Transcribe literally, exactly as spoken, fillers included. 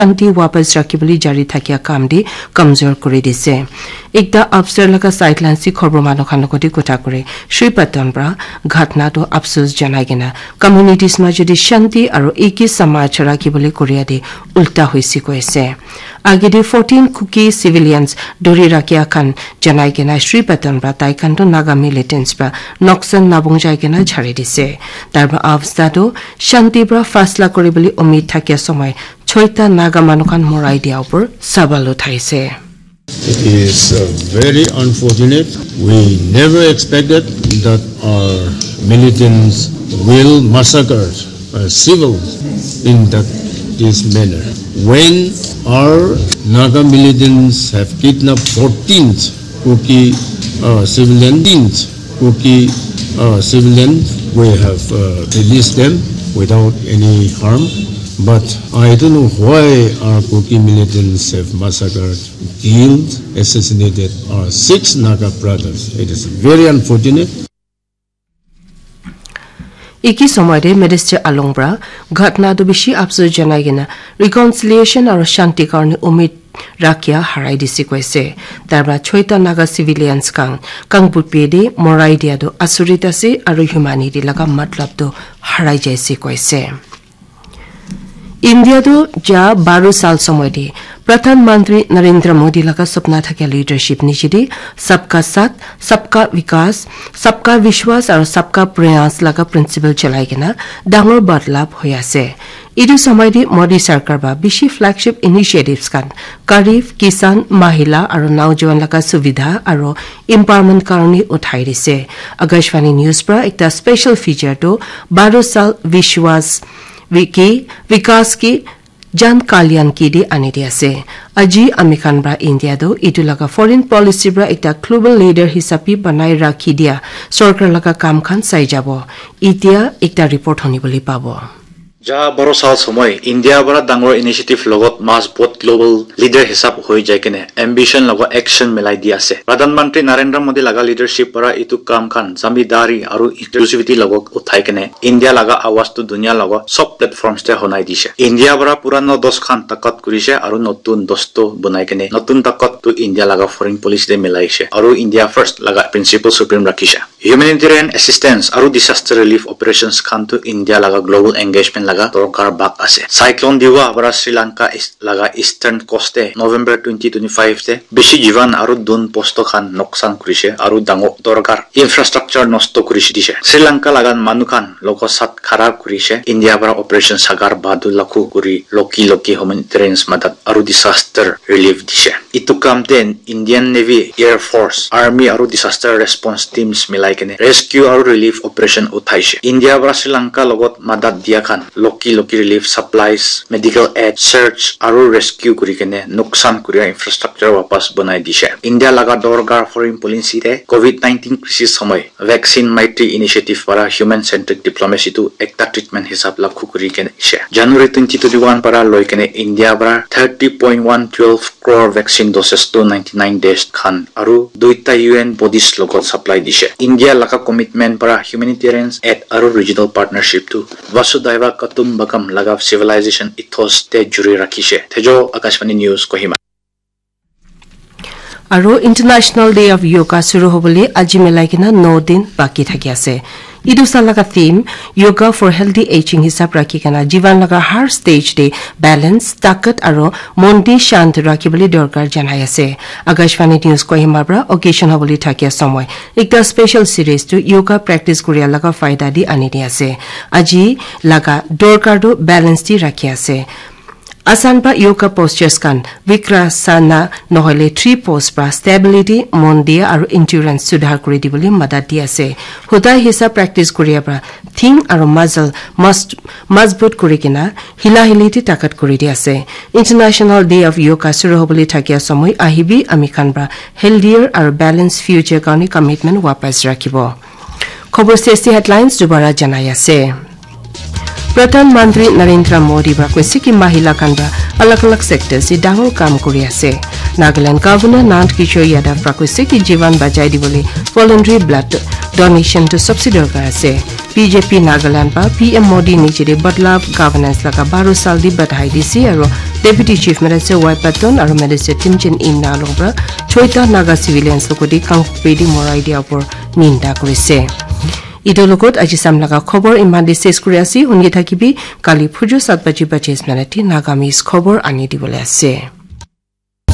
shanti wapas rakhibole jari thakia kam de kamzor kuri dise. Ekta afsar laga sideline si khobor manu khan logoti kotha kuri Shri Patan pra ghatna to afsus janai kena communities ma jodi shanti aro eki samaj rakhibole koria de ulta hoise koise. Agede fourteen Kuki civilians dori rakhia khan janai kena Shri Patan pra tai khan to Naga militants pra noksan nabong jai kena jhari dise. Tarba avsta to shanti pra fasla kuri bole umid thakia somoi choita Naga manu khan morai dia upor sabal uthaise. It is uh, very unfortunate. We never expected that our militants will massacre uh, civil in that this manner. When our Naga militants have kidnapped fourteen Kuki uh, civilians, Kuki uh, civilians, we have uh, released them without any harm. But I don't know why our Kuki militants have massacred, killed, assassinated our six Naga brothers. It is very unfortunate. Iki somoi de Minister Along pra ghatna to bishi afsus janai kena reconciliation aro shanti karne umid rakhia harai dise koise. Tarpra choita Naga civilians khan Kangpokpi de morai dia to asurit ase aro humanity laga matlab to harai jaise koise. India tu ja baro sal somoi de Pradhan Mantri Narendra Modi laga sapna thakia leadership niche de sabka saath, sabka vikas, sabka vishwas aro sabka prayas laga principle chalai kena dangor badlav hoi ase. Etu somoi de Modi sarkar ba bishi flagship initiatives khan Kharif, Kisan, Mahila aro Naujawan laga suvidha aro empowerment karone uthai dise. Akashvani News pra ekta special feature to baro sal vishwas ki vikas ki Jan Kalyan ki de ani de ase. Aji ami khan pra India to etu laga foreign policy pra ekta global leader hisabe banai rakhi dia sorkar laga kam khan sai jabo. Etia ekta report honi bole pabo. Ja baro sal somoi India para dangor initiative logot mas bot global leader hisab hoi jai kene ambition logo action milai di ase. Pradhan Mantri Narendra Modi laga leadership para itu kam khan zamidari aru inclusivity logo uthai kene India laga awaz tu dunia logo sob platforms te honai dishe. India para purano dos khan takat kurishe aru notun dos to bunai kene notun takat tu India laga foreign policy te milaishe aru India first laga principle supreme rakhishe. Humanitarian assistance aru disaster relief operations khan tu India laga global engagement laga dorkar bak ase. Cyclone Diwa para Sri Lanka is-, laga eastern coast te November twenty twenty-five te bishi jivan aru dun posto khan noksan kurishe aru dangor dorkar infrastructure nosto kurishe dishe. Sri Lanka laga manu khan logo sat khara kurishe India para operation Sagar Bahadur lakhu kuri loki loki humanitarian madat aru disaster relief dishe. Itu kam te Indian Navy, Air Force, Army aru disaster response teams milai kene rescue aru relief operation uthaishe. India para Sri Lanka logot madat dia khan loki loki relief supplies, medical aid, search aru rescue kuri kene nuksan kuria infrastructure wapas banai dishe. India laga dorkar foreign policy te covid nineteen crisis samai Vaccine Maitri Initiative para human centric diplomacy tu ekta treatment hisab lakhu kuri kene ishe. January twenty twenty-one para loi kene India para thirty point one twelve crore vaccine doses to ninety-nine days khan aru duita U N bodies logot supply dishe. India laga commitment para humanitarian aid aru regional partnership tu Vasudhaiva Kutumbakam laga civilization ethos te juri rakhishe. Thejo Akashvani News Kohima. Aro International Day of Yoga suru hobole aji milai kena no din baki thaki ase. Etu sal laga theme Yoga for Healthy Aging hisab rakhi kena jivan laga har stage te balance, takat aro mon di shant rakhi bole dorkar janai ase. Akashvani News Kohima pra occasion hobole thakia somoi ekta special series tu yoga practice kuria laga faida di ani di ase. Aji laga dorkar tu balance di rakhi ase. Asan pa yoga postures khan Vikrasana nohoile three pose pra stability, mon dia aru endurance sudhar kuri dibole madat di ase. Huda hisa practice kuria pra thing aru muscle must, mazbut kuri kena hila hili te takat kuri di ase. International Day of Yoga suru hobole thakia somoi ahibi ami khan pra healthier aru balanced future karne commitment wapas rakhibo. Khobor safety headlines dubara janai ase. Pradhan Mantri Narendra Modi pra koise ki mahila khan pra alag alag sectors te dangor kam kuri ase. Nagaland Governor Nand Kishore Yadav pra koise ki jivan bachai dibole voluntary blood donation tu sabse dorkar ase. B J P Nagaland pra P M Modi niche te badlav governance laga baro sal di badhai dise aro Deputy Chief Minister Y Patton aru Minister Timchen Imna along para choita Naga civilians logoti kangpedi morai dia por ninda kurise. Itu logot aji sam laga khobor iman de ses kuri ase, huni thakibi kali phuju sat baji pachis minute Nagamese khobor ani dibole ase.